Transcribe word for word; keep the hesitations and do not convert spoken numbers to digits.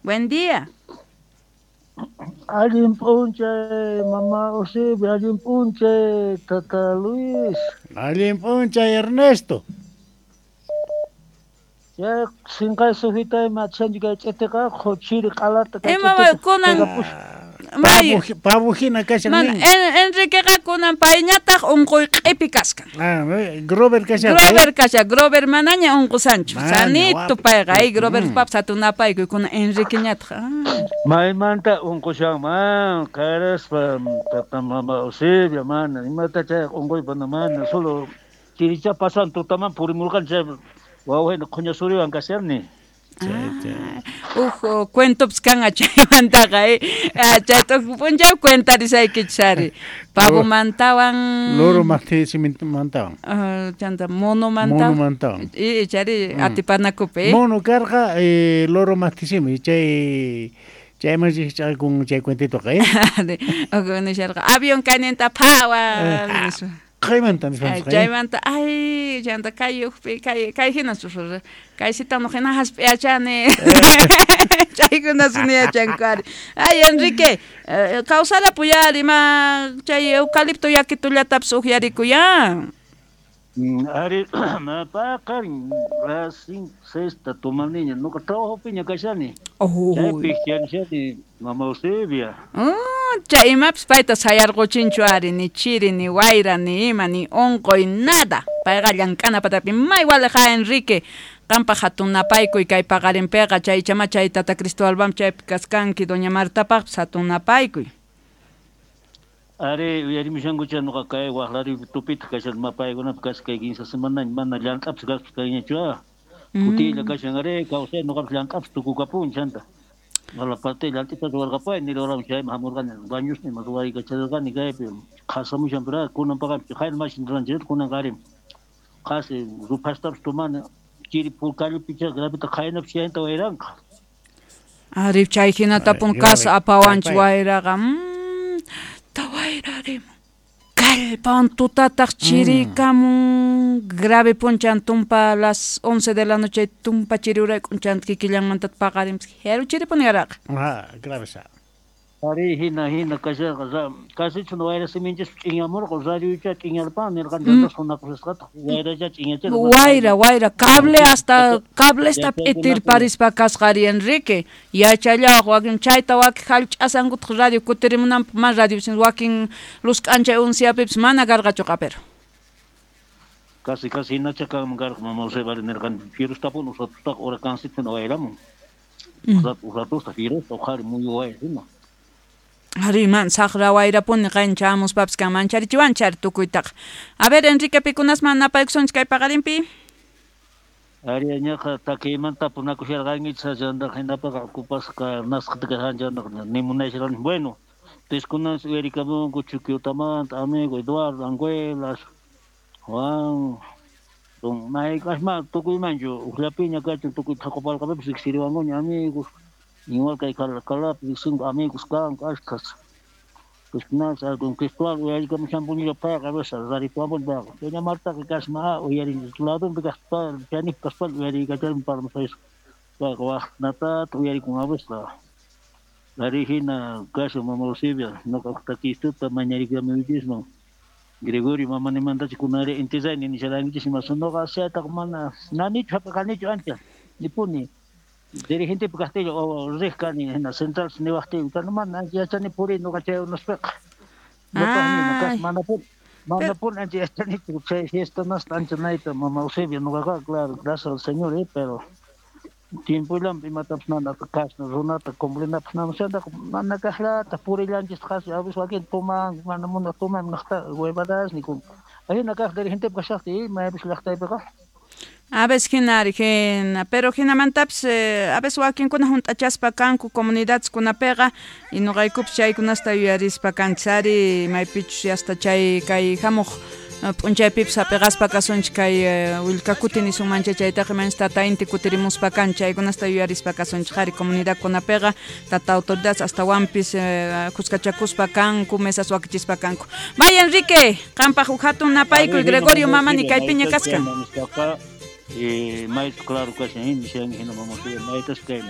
Buen día. Allin p'unchay, mama Eusebia, allin p'unchay, tata Luis. Allin p'unchay, Ernesto. Ya sinqay sujitay machanchu kay ch'itiqa chiri q'alata kay Ima kunan may Pavo hina kashan mana nin. Enriqueqa kunan payñataq unquy q'ipi kaskan. Ah, Grover kashan. Grover kashan, Grover manaña unqusanchu. Mana, Sanito guapo. payqa, ay Grover Mm. pap satunapaykuy kunan Enriqueñataq. Ah. Maymanta unqushanman, qaraspa tata mama Eusebia, mana, imata chay unquypa mana, solo chiricha pasan tutaman purimurqan chay wawayna qhuña suriwan kasharni. Ah, uj cuentopis kanqa chaymantaqa, eh. Ah, chayta uj p'unchay cuentarisaykichis ari. Pavomantawan Loro mantawan. Ah, chanta monomantawan. Monomantawan. Y chari Mm. atipanakupi, eh. Mono karqa eh, loro mastisimi chay chayman rikch'akun chay cuentitoqa, eh. Uj nisharqa avión kayninta phawan Eh, nispa. Qaymanta Ay, nispanchis, eh. chaymanta ay chanta kay ujpi kay kay hina susur kay sitano hina hasp'iyachani chaykuna suniyachanku ari. Ay Enrique, eh, kawsarapuyari ma chay eucalipto yakitullatapis uqyarikuyan. Mm, Ari, paqarin las cinco, sexta tomaniña, nuqa trabajopiña kashani. Oh. Chaypi yanishani mama Eusebia. Mm, chay imapis payta sayarquchinchu ari, ni chiri, ni wayra, ni ima, ni unquy, nada. Payqa llank'ana patapi may waliqa Enrique. Qanpaq hatun napaykuy kay paqarinpiqa chay chama chay tata Cristobalpam chaypi kaskanki doña Martapaqpis hatun napaykuy. Ari, uyarimushankucha nuqa kay waqlaripi tupitaq kashan mapaykunapi kasqa kay kinsa semanaña mana llank'apis kaspa kayñachu ah. Kutilla kashan ari, kawsay nuqapis llank'apis tukukapun chanta. Wala parte llant'ita ruwarqapay nirqaram chayman hamurqani bañusni ima ruwaykacharqani kaypi qhasamushan pero kunan paqapi qayna mashi nirqanchik kunan qari qhasi ruphastapis tumani chiri purkallupicha grabita qaynapis chayanta wayranqa. Ari chay hinatapun Ay, kasa grave. apawanchik Kallpay. wayraqa. Mm, ta wayrarimun. Kallpawan tutataq chirikamun. Grave punchan tumpa las once de la noche tumpa chiri urayk'un chanta kikillanmanta paqarinpis. Jeru chiripuni yaraqa. Ah, grave sa. Ari hina hina kasharqa ra kasichun wayra siminchis ch'inyamurqa radiocha ch'inyarpan nirqan chanta sunakusqataq wayracha ch'inyachirqa. Wayra, wayra, cable hasta cablesta Yachaykunapi. p'itirparispa kasqa ari Enrique. Yachallawaq wakin chayta wakin hallch'asankutaq radio kutirimunanpaq mana radio wakin luz k'anchay unciapipis mana karqachu q'apero. Casi casi hinacha kanman karqa mama Eusebia nirqan firustapun usatustaq huracancito wayramun. Usat usatusta firusta uqhari muyu wayra hina. Ari man saqra wayrapuni qayna chamuspapis kan mancharichiwanchari tukuytaqa. A ver Enrique pikunasman napaykusunchik kay paqarinpi. Ari ñaqa takiymanta tapunakusharqankichis chantaqa hinapaqa ocupasqa nasqata kashan chantaqa nimunayasharqani. Bueno, entonces uyarikamunku Chuquiotamanta amigo Eduardo Anguelas, Juan, don mayk'asma tukuymanchu uqllapiña kachun tukuy thaqupalqapipis riqsiriwankuña amigos. Igual kay Calacalapi riqsinku amigos kanku ashkhas. Pues nada, don Cristóbal uyarikamushanpuñilla payqa a veces rarituampuni payqa. Doña Martaqa kasma uyarin ladunpi kaspa chanipi kaspa uyarikacharmi parmasaysa. Payqa waqnatata uyarikun a veces. Ari hina kashan mama Eusebia nuqa takistuta mañarikamuychisman. Gregorio mama nimantachu kunari intizayni nisharankichis ima nuqa chaytaqa mana nanichu hap'iqanichu ancha nipuni. Dirigente kaqtilla o riq kani hina central niwaqtiyku chayna mana ancha yachani puriy nuqa chay unaspiqa. Ñuqapaq Ay. manapuni manapuni ancha yachanichu chay fiesta nasta ancha nayta mama Eusebia nuqaqa claro gracias al Señor eh, pero tiempollanpi imatapis mana kasna runata cumplinapaq nama chantaqa mana kaqllata purillanchis qasi a veces wakin tuman mana munaq tuman munaqta huevadas nikun. Ahina kaq dirigentepi kashaqtiy maypis llaqtaypiqa. A veces hina ari hina, pero hinamantapis eh, a veces wakinkuna hunt'achaspa kanku comunidadeskunapiqa y nuqaykupis chaykunasta yuyarispa kanchis ari maypichus hasta chay kay hamuq p'unchaypipis hap'iqaspa kasunchik kay eh, willkakuti nisunmancha chaytaqa imanchis tata inti kutirimuspa kan chaykunasta yuyarispa kasunchik ari comunidadkunapiqa tata autoridades astawanpis eh, kuskachakuspa kanku mesas wakichispa kanku. Vaya Enrique, qampaq huk hatun napaykuy Gregorio mamani kaypiña kaskan. Eh, mayta claro kashan hina nishanki hina mama Eusebia maytas kay